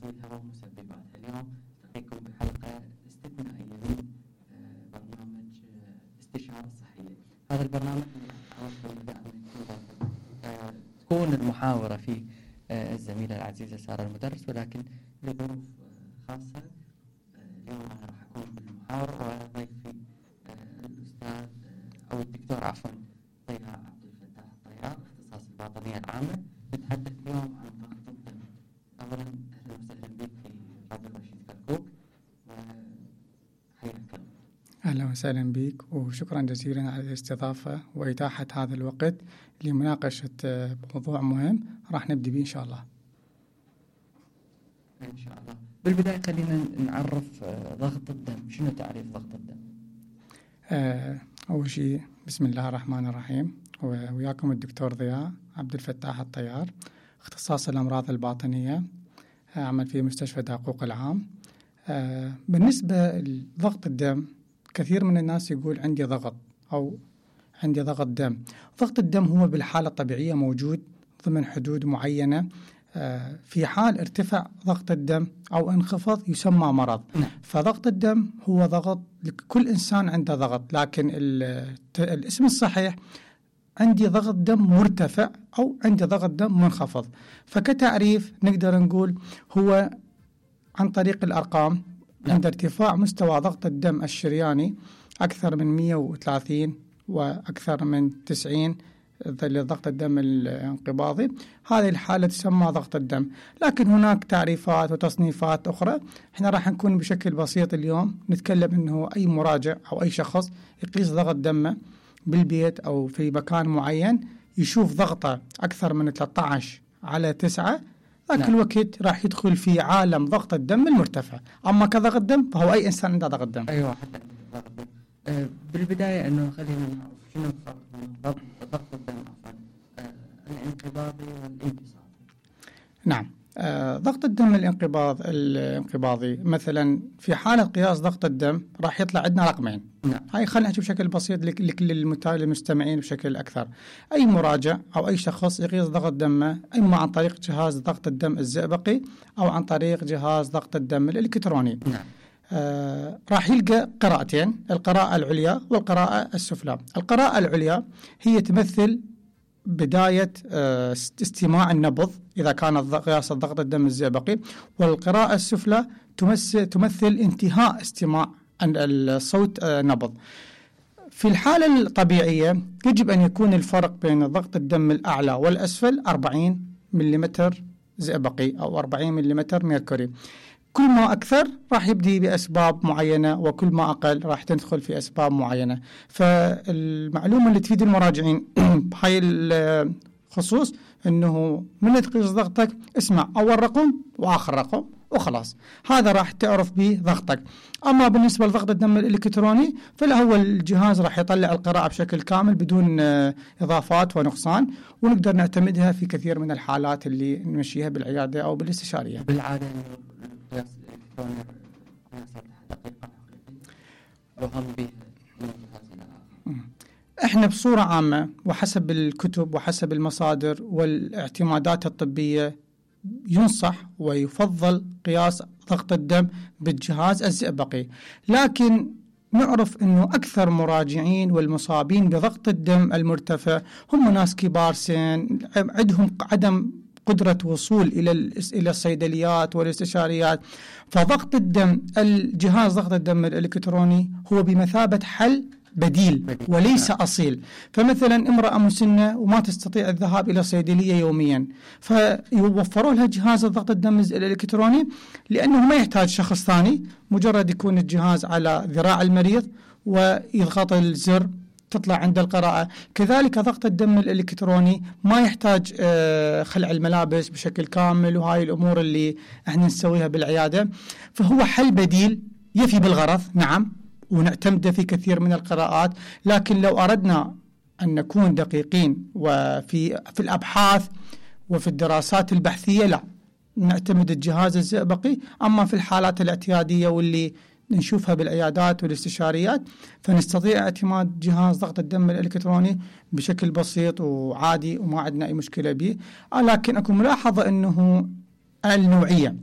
تحليلها ومسبباتها. اليوم نلتقيكم بحلقة استثنائية من برنامج استشارة صحية. هذا البرنامج تكون المحاورة فيه الزميلة العزيزة سارة المدرس، ولكن لظروف خاصة اليوم أنا راح أكون بالمحاورة وضيفي الأستاذ أو الدكتور طيار عبد الفتاح الطيار، اختصاص الباطنية العامة. نتحدث اليوم عن ضغط الدم. أولا أهلا وسهلا بك في راديو رشيد كركوك وحياك الله. أهلا وسهلا بك وشكرا جزيلا على الاستضافة وإتاحة هذا الوقت لمناقشة موضوع مهم راح نبدأ به إن شاء الله. إن شاء الله. بالبداية خلينا نعرف ضغط الدم. شنو تعريف ضغط الدم؟ أول شيء بسم الله الرحمن الرحيم، وياكم الدكتور ضياء عبد الفتاح الطيار، اختصاص الأمراض الباطنية، أعمل في مستشفى دقوق العام. بالنسبة لضغط الدم، كثير من الناس يقول عندي ضغط أو عندي ضغط دم. ضغط الدم هو بالحالة الطبيعية موجود ضمن حدود معينة. في حال ارتفع ضغط الدم أو انخفض يسمى مرض. فضغط الدم هو ضغط، كل إنسان عنده ضغط، لكن الاسم الصحيح عندي ضغط دم مرتفع أو عندي ضغط دم منخفض. فكتعريف نقدر نقول هو عن طريق الأرقام. عند ارتفاع مستوى ضغط الدم الشرياني أكثر من 130 وأكثر من 90 ضغط الدم الانقباضي، هذه الحالة تسمى ضغط الدم. لكن هناك تعريفات وتصنيفات أخرى. احنا راح نكون بشكل بسيط اليوم نتكلم أنه أي مراجع أو أي شخص يقيس ضغط دمه بالبيت أو في مكان معين يشوف ضغطه أكثر من 13/9، ذاك الوقت راح يدخل في عالم ضغط الدم المرتفع. أما كضغط دم فهو أي إنسان عنده ضغط دم. أيوة، حتى ضغط دم. بالبداية أنه خلينا نعرف شنو الفرق بين ضغط الدم الانقباضي والانبساطي. نعم، ضغط الدم الانقباضي مثلا في حالة قياس ضغط الدم راح يطلع عندنا رقمين. نعم. هاي خلينا نحكي بشكل بسيط لكل المستمعين بشكل أكثر. أي مراجع أو أي شخص يقيس ضغط دمه إما عن طريق جهاز ضغط الدم الزئبقي أو عن طريق جهاز ضغط الدم الإلكتروني. نعم. راح يلقى قراءتين، القراءة العليا والقراءة السفلى. القراءة العليا هي تمثل بداية استماع النبض إذا كان قياس ضغط الدم الزئبقي، والقراءة السفلى تمثل انتهاء استماع الصوت نبض. في الحالة الطبيعية يجب أن يكون الفرق بين ضغط الدم الأعلى والأسفل 40 ملم زئبقي أو 40 ملم ميركوري. كل ما أكثر راح يبدي بأسباب معينة، وكل ما أقل راح تدخل في أسباب معينة. فالمعلومة اللي تفيد المراجعين بهاي الخصوص أنه من تقيس ضغطك اسمع أول رقم وآخر رقم وخلاص، هذا راح تعرف به ضغطك. أما بالنسبة لضغط الدم الإلكتروني فهو الجهاز راح يطلع القراءة بشكل كامل بدون إضافات ونقصان، ونقدر نعتمدها في كثير من الحالات اللي نمشيها بالعيادة أو بالاستشارية. بالعادة القياس الإلكتروني قياس دقيقة وهم به من الجهاز الآخر. احنا بصورة عامة وحسب الكتب وحسب المصادر والاعتمادات الطبية ينصح ويفضل قياس ضغط الدم بالجهاز الزئبقي، لكن نعرف أنه أكثر مراجعين والمصابين بضغط الدم المرتفع هم ناس كبار سن، عندهم عدم قدرة وصول إلى الصيدليات والاستشاريات. فضغط الدم الجهاز ضغط الدم الإلكتروني هو بمثابة حل بديل وليس أصيل. فمثلا امرأة مسنة وما تستطيع الذهاب إلى صيدلية يوميا، فيوفروا لها جهاز ضغط الدم الإلكتروني لأنه ما يحتاج شخص ثاني، مجرد يكون الجهاز على ذراع المريض ويضغط الزر تطلع عند القراءة. كذلك ضغط الدم الإلكتروني ما يحتاج خلع الملابس بشكل كامل وهاي الأمور اللي احنا نسويها بالعيادة. فهو حل بديل يفي بالغرض، نعم، ونعتمد في كثير من القراءات. لكن لو أردنا أن نكون دقيقين وفي الأبحاث وفي الدراسات البحثية لا نعتمد الجهاز الزئبقي. أما في الحالات الاعتيادية واللي نشوفها بالعيادات والاستشاريات فنستطيع اعتماد جهاز ضغط الدم الإلكتروني بشكل بسيط وعادي وما عندنا أي مشكلة به. لكن أكون ملاحظة أنه النوعية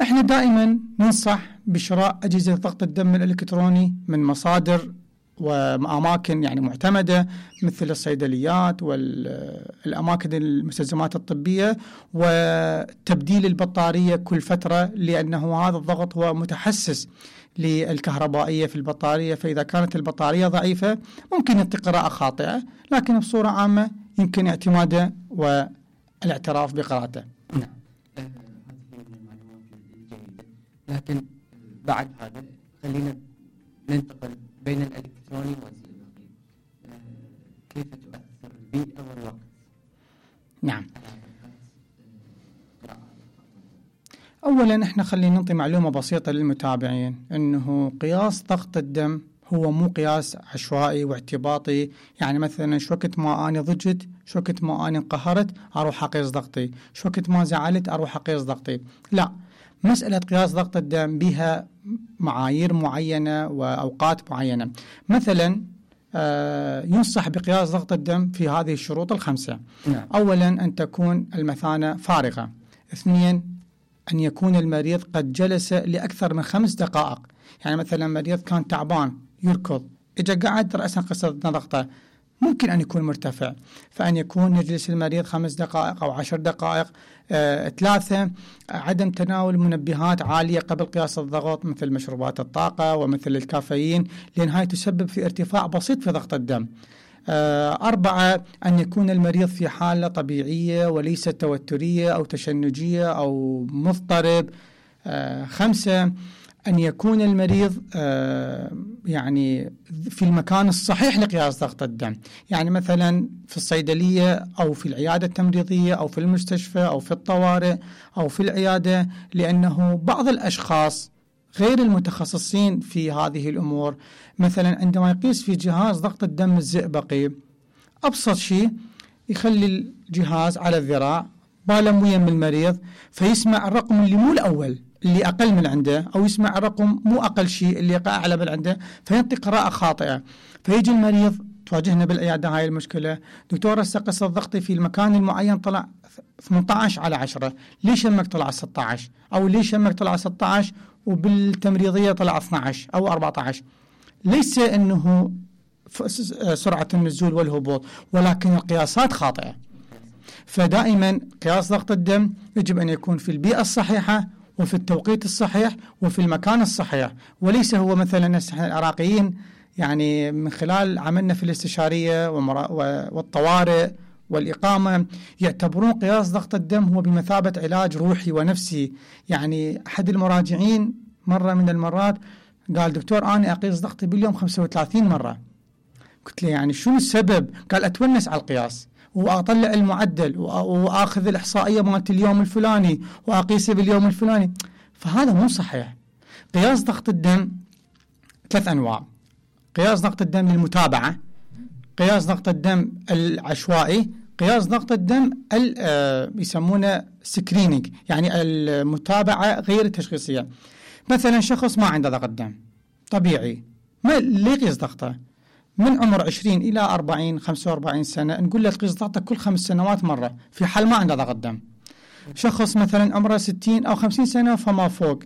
احنا دائما ننصح بشراء أجهزة ضغط الدم الإلكتروني من مصادر وأماكن يعني معتمدة مثل الصيدليات والأماكن المستلزمات الطبية، وتبديل البطارية كل فترة، لأنه هذا الضغط هو متحسس للكهربائية في البطارية، فإذا كانت البطارية ضعيفة ممكن يعطي قراءة خاطئة، لكن بصورة عامة يمكن اعتماده والاعتراف بقراءته. نعم، هذه من المعلومات الجيدة. لكن بعد هذا خلينا ننتقل بين الإلكتروني والزئبقي. كيف تؤثر البيئة والوقت؟ نعم. أولا احنا خلينا نعطي معلومة بسيطة للمتابعين، أنه قياس ضغط الدم هو مو قياس عشوائي واعتباطي، يعني مثلا شو وقت ما أنا ضجت، شو وقت ما أنا انقهرت أروح أقيس ضغطي، شو وقت ما زعلت أروح أقيس ضغطي. لا، مسألة قياس ضغط الدم بها معايير معينة وأوقات معينة. مثلا ينصح بقياس ضغط الدم في هذه الشروط الخمسة. نعم. أولا أن تكون المثانة فارغة. اثنين، أن يكون المريض قد جلس لأكثر من 5 دقائق، يعني مثلا مريض كان تعبان يركض، إجا قعد رأسا قصة ضغطه ممكن أن يكون مرتفع، فأن يكون يجلس المريض 5 دقائق أو 10 دقائق. 3، عدم تناول منبهات عالية قبل قياس الضغط مثل مشروبات الطاقة ومثل الكافيين، لأن هاي تسبب في ارتفاع بسيط في ضغط الدم. 4، أن يكون المريض في حالة طبيعية وليست توترية أو تشنجية أو مضطرب. 5، أن يكون المريض يعني في المكان الصحيح لقياس ضغط الدم، يعني مثلا في الصيدلية أو في العيادة التمريضية أو في المستشفى أو في الطوارئ أو في العيادة، لأنه بعض الأشخاص غير المتخصصين في هذه الأمور مثلا عندما يقيس في جهاز ضغط الدم الزئبقي، أبسط شيء يخلي الجهاز على الذراع بالموية من المريض، فيسمع الرقم اللي مو الأول اللي أقل من عنده، أو يسمع الرقم مو أقل شيء اللي أعلى من عنده، فينطي قراءة خاطئة. فيجي المريض، تواجهنا بالعيادة هاي المشكلة، دكتور هسه قصة ضغطي في المكان المعين طلع 18/10، ليش يمك طلع 16؟ أو ليش يمك طلع 16 وبالتمريضية طلع 12 أو 14؟ ليس أنه سرعة النزول والهبوط، ولكن القياسات خاطئة. فدائما قياس ضغط الدم يجب أن يكون في البيئة الصحيحة وفي التوقيت الصحيح وفي المكان الصحيح، وليس هو مثلا احنا العراقيين يعني من خلال عملنا في الاستشارية والطوارئ والإقامة يعتبرون قياس ضغط الدم هو بمثابة علاج روحي ونفسي. يعني أحد المراجعين مرة من المرات قال دكتور أنا أقيس ضغطي باليوم 35 مرة. قلت له يعني شو السبب؟ قال أتونس على القياس وأطلع المعدل وأخذ الإحصائية مالت اليوم الفلاني وأقيسه باليوم الفلاني. فهذا مو صحيح. قياس ضغط الدم 3 أنواع: قياس ضغط الدم للمتابعة، قياس ضغط الدم العشوائي، قياس ضغط الدم يسمونه سكرينينج، يعني المتابعة غير التشخيصية. مثلا شخص ما عنده ضغط دم طبيعي، ما ليه يقيس ضغطه؟ من عمر 20 إلى 40 45 سنة نقول له تقيس ضغطك كل 5 سنوات مرة في حال ما عنده ضغط دم. شخص مثلا عمره 60 أو 50 سنة فما فوق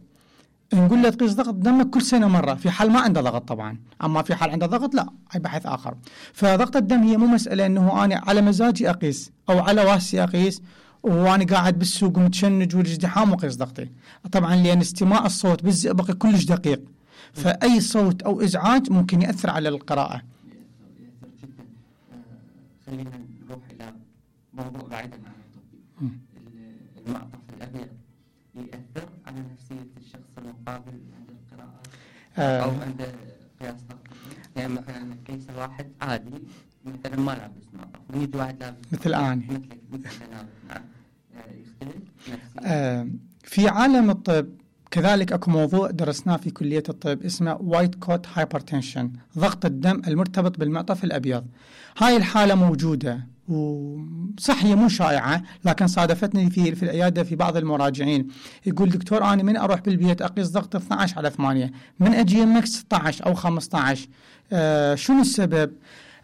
نقول له تقيس ضغط دمك كل سنة مرة في حال ما عنده ضغط طبعا، أما في حال عنده ضغط لا، هي بحث آخر. فضغط الدم هي مو مسألة أنه أنا على مزاجي أقيس أو على واسي أقيس وأنا قاعد بالسوق متشنج والازدحام وقيس ضغطي. طبعا لأن استماع الصوت بالزئبقي كلش دقيق، فأي صوت أو إزعاج ممكن يأثر على القراءة. خلينا نروح إلى موضوع بعيدا عن الطب. المعطف الأبيض يأثر على نفسية الشخص المقابل عند القراءة أو عند قياس ضغط؟ يعني مثلا كيس واحد عادي مثلا ما لابس معطف ويجي واحد لابس مثل آني مثل نعم، يختلف نفسيا. في عالم الطب كذلك اكو موضوع درسناه في كلية الطب اسمه وايت كوت هايبرتنشن، ضغط الدم المرتبط بالمعطف الأبيض. هاي الحالة موجودة وصح هي مو شائعة، لكن صادفتني في العيادة في بعض المراجعين يقول دكتور أنا من أروح بالبيت أقيس ضغط 12/8، من أجي يمك 16 أو 15. شنو السبب؟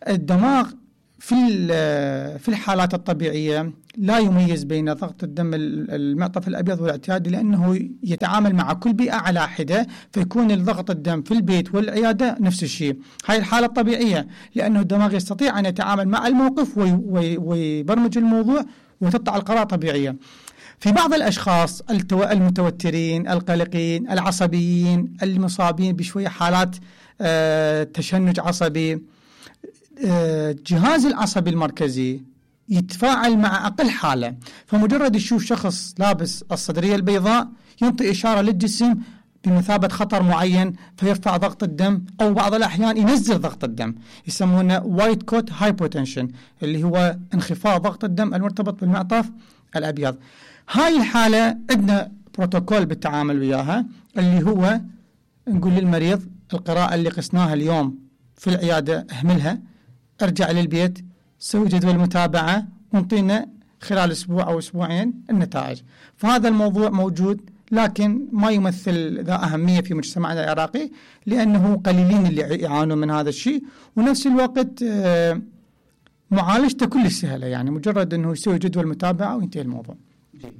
الدماغ في الحالات الطبيعية لا يميز بين ضغط الدم المعطف الأبيض والاعتيادي، لأنه يتعامل مع كل بيئة على حدة، فيكون الضغط الدم في البيت والعيادة نفس الشيء. هاي الحالة الطبيعية، لأنه الدماغ يستطيع أن يتعامل مع الموقف ويبرمج الموضوع وتطلع القرار طبيعية. في بعض الأشخاص المتوترين، القلقين، العصبيين، المصابين بشوية حالات تشنج عصبي، جهاز العصبي المركزي يتفاعل مع أقل حالة، فمجرد يشوف شخص لابس الصدرية البيضاء ينطي إشارة للجسم بمثابة خطر معين فيرفع ضغط الدم، أو بعض الأحيان ينزل ضغط الدم، يسمونه وايت كوت هايبوتنشن، اللي هو انخفاض ضغط الدم المرتبط بالمعطف الأبيض. هاي الحالة عندنا بروتوكول بالتعامل وياها، اللي هو نقول للمريض القراءة اللي قسناها اليوم في العيادة اهملها، ارجع للبيت، سوي جدول متابعة، ونطينا خلال أسبوع أو أسبوعين النتائج. فهذا الموضوع موجود، لكن ما يمثل ذا أهمية في مجتمعنا العراقي، لأنه قليلين اللي يعانون من هذا الشيء، ونفس الوقت معالجته كل سهلة، يعني مجرد أنه يسوي جدول متابعة وينتهي الموضوع. جيد.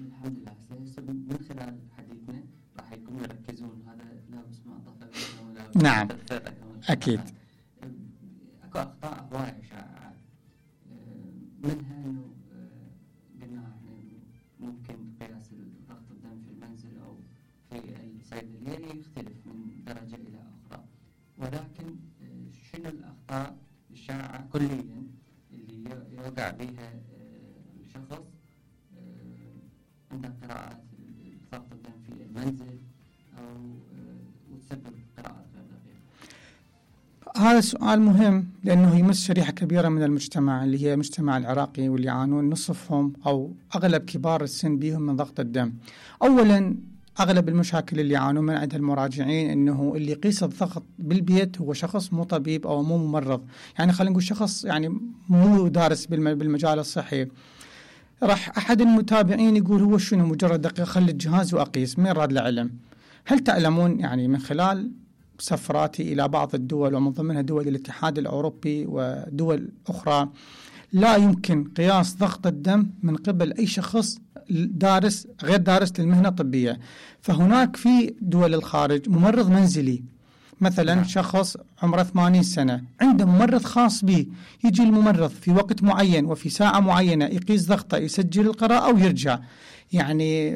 الحمد لله. من خلال حديثنا راح يكون يركزون هذا لابس معطف. نعم أكيد. اكو اخطاء هواية شائعة، منها انه قلنا احنا ممكن قياس ضغط الدم في المنزل او في الصيدلية يختلف من درجة الى اخرى، ولكن شنو الاخطاء الشائعة كليا اللي يوقع بها الشخص عند قراءة ضغط الدم في المنزل او وتسبب قراءة غير دقيقة؟ هذا سؤال مهم، لأنه يمس شريحة كبيرة من المجتمع اللي هي المجتمع العراقي، واللي يعانون نصفهم أو أغلب كبار السن بيهم من ضغط الدم. أولا أغلب المشاكل اللي يعانون من عندها المراجعين إنه اللي يقيس الضغط بالبيت هو شخص مو طبيب أو مو ممرض، يعني خلينا نقول شخص يعني مو دارس بالمجال الصحي. راح أحد المتابعين يقول هو شنو مجرد دقيقة خلي الجهاز وأقيس، من راد العلم؟ هل تعلمون يعني من خلال سفراتي إلى بعض الدول ومن ضمنها دول الاتحاد الأوروبي ودول أخرى، لا يمكن قياس ضغط الدم من قبل أي شخص دارس غير دارس للمهنة الطبية. فهناك في دول الخارج ممرض منزلي، مثلا شخص عمره 80 سنة عنده ممرض خاص به، يجي الممرض في وقت معين وفي ساعة معينة يقيس ضغطه، يسجل القراءة ويرجع. يعني